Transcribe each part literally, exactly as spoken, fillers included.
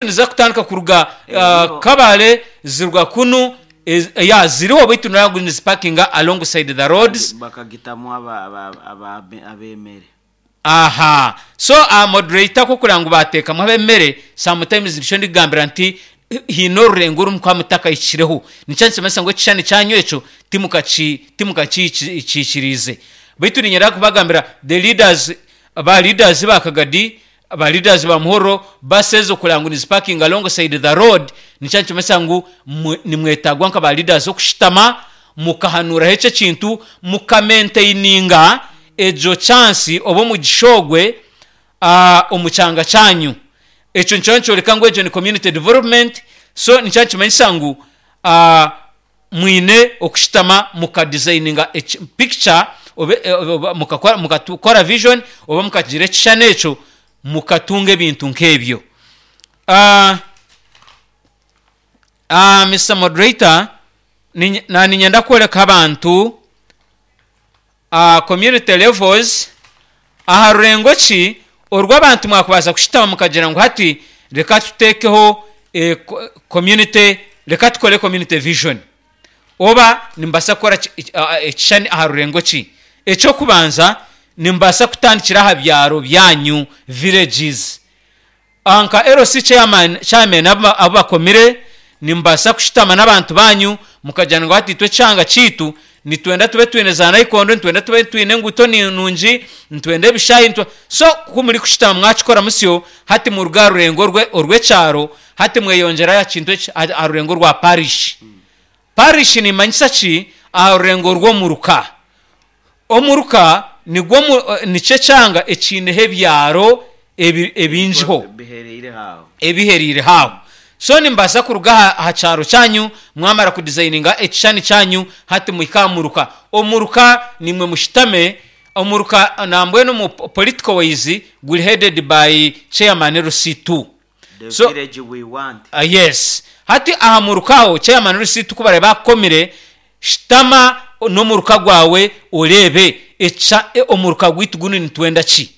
Niziza kutandika kuruga Kabale ziruga kunu ya ziriho beitu nabwo nizipakinga alongside the roads. Bakagitamu aba- aba- aba- ab'emere. Aha so moderator ku okureba ngu bateekamu ab'emere, sometimes nikyo ndikugambira nti haine orurengo oru mukuba mutakahikireho. Nikyo nikimanyisa ngu ekishushani kyanyu ekyo timukaki timukakihikiiriize. Beitu niinyenda kubagambira the leaders, ba leaders ba Kagadi, ba leaders ba Muhorro, bus ezo kureba ngu nizipakinga alongside the road, nikyo nikimanyisa ngu nimwetagwa nka ba leaders okushutama mukahanuuraho ekyo ekintu, mukamaintaininga egyo chance oba omugisha ogwe omu kyanga kyanyu. Ekyo nikyo nikyoreka ngu egyo ni community development, so nikyo nikimanyisa ngu mwine okushutama mukadesigninga picture oba mukakora vision oba mukagira ekishushani ekyo mukatunga ebintu nk'ebyo. Mister Moderator, naaniinyenda kworeka abantu community levels aha rurengo ki oru abantu mwakubaasa kushutama mukagira ngu hati reka tuteekeho community, reka tukore community vision oba nimubaasa kukora ekishushani aha rurengo ki? Eky'okubanza nimubaasa kutandikira aha byaro byanyu, villages. Nka L C chairman, chairman abu bakomire, nimubaasa kushutama n'abantu baanyu mukagira ngu hati itwe ekyanga kyaitu nitwenda tube twine za naikondo, nitwenda tube twine enguuto nungi, nitwenda ebishaayi, so ku murikushutama mwakikora musyo, hati muruga aha rurengo orw'ekyaro hati mweyongyerayo aha kintu eki aha rurengo rwa parish. Parish neemanyisa ki? Aha rurengo rw'omuruka. Omuruka nigwo nikyo ekyanga ekiineho ebyaro ebingiho. Ebihereire aho. So nimubaasa kuruga aha kyaro kyanyu mwamara kudizayininga ekishushani kyanyu hati muhike aha muruka. Omuruka niimwe mushutame, omuruka nambwenu omu political wise guri headed by chairman L C two. The So village we want. Yes. Hati aha muruka aho chairman L C two ku baraabe baakukomire, shutama n'omuruka gwawe oreebe omuruka gwaitu gunu nitwenda ki?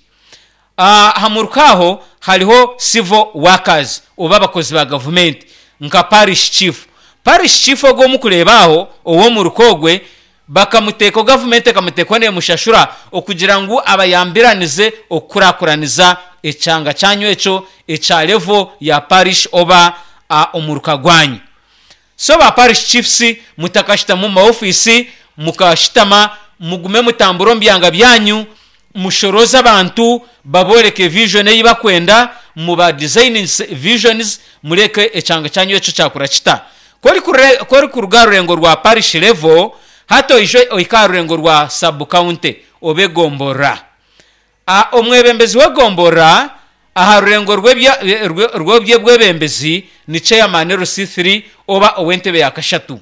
Aha muruka aho hariho civil workers oba abakozi ba gavumenti nka parish chief. Parish chief ogwo ou murikureeba aho ow'omuruka ogwe bakamuteekaho, gavumenti ekamuteekaho neemushashura okugira ngu abayambiranize okukurakuraniza ekyanga kyanyu ekyo ekya level ya parish oba omuruka gwanyu. So ba parish chiefs mutakashutama omu ma ofiisi, mukashutama mugume mutambure omu byanga byanyu, mushorooze abantu babooreke vision ei bakwenda, muba designingise visions mureke ekyanga kyanyu ekyo kyakura kita. Ku orikuruga aha rurengo rwa parish level, hati oije ohike aha rurengo rwa sub county oba egomborora. Omwebembezi w'egomborora aha rurengo rw'eby'obwebembezi ni chairman L C three oba ow'entebe ya kashatu.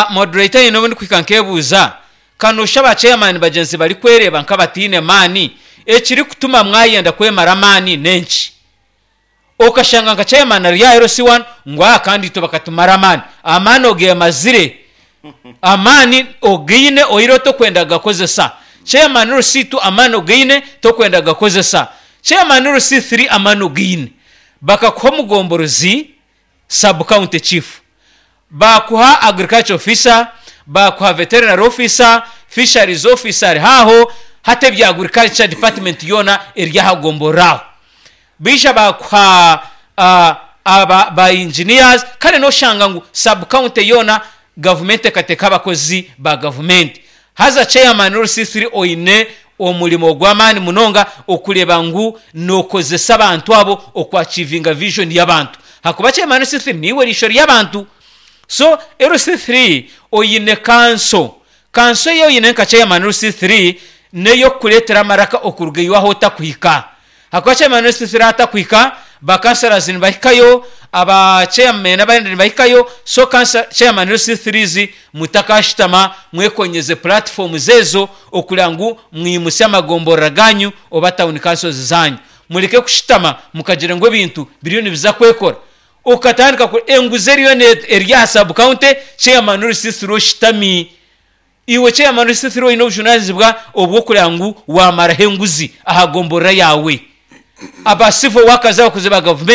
Moderator haine obu ndikuhika nkebuuza, ka noosha ba chairman bagyenzi barikwereeba nk'abataine maani, ekirikutuma mwayenda kwemara amaani n'enki? Okashanga nka chairman ari aha L C one ngu aha kandi itwe bakatumara amaani. Amaani ogeemazire, amaani ogaine oihireho tokwenda kugakozesa. Chairman L C two amaani ogaine tokwenda kugakozesa. Chairman L C three amaani ogaine. Bakakuha omugomborozi, sub county chief, baakuha agriculture officer, baakuha veterinary officer, fisheries officer ari aho, hati ebya agriculture department yoona eri aha gomborora aho. Baija baakuha aba ba engineers, kare noshanga ngu sub county yoona gavumenti ekateekaho abakozi ba gavumenti. Haza chairman L C three oine omurimo gw'amaani munonga okureeba ngu nookozesa abantu abo oku-achievinga vision y'abantu. Ahakuba chairman L C three niiwe riisho ry'abantu. So L C three oine kanso. Kanso ei oine nka chairman L C three n'ey'okukureetera amaraka okuruga iwe ahu otakuhika. Ahakuba chairman L C three ahu atakuhika, ba councillors nibahikayo, aba chairmen abandi nibahikayo, so chairman L C threes mutakashutama mwekonyeze platforms ezo okureba ngu mwimutsya amagomborora ganyu oba town councils zanyu. Mureke kushutama mukagira ngu ebintu biriyo nibiza kwekora. Okatandika enguzi eriyo eri aha sub county, chairman L C three oshutami. Iwe chairman L C three oine obujunanizibwa obw'okureba ngu waamaraho enguzi aha gomborora yaawe. Aba civil workers, abakozi ba gavumenti.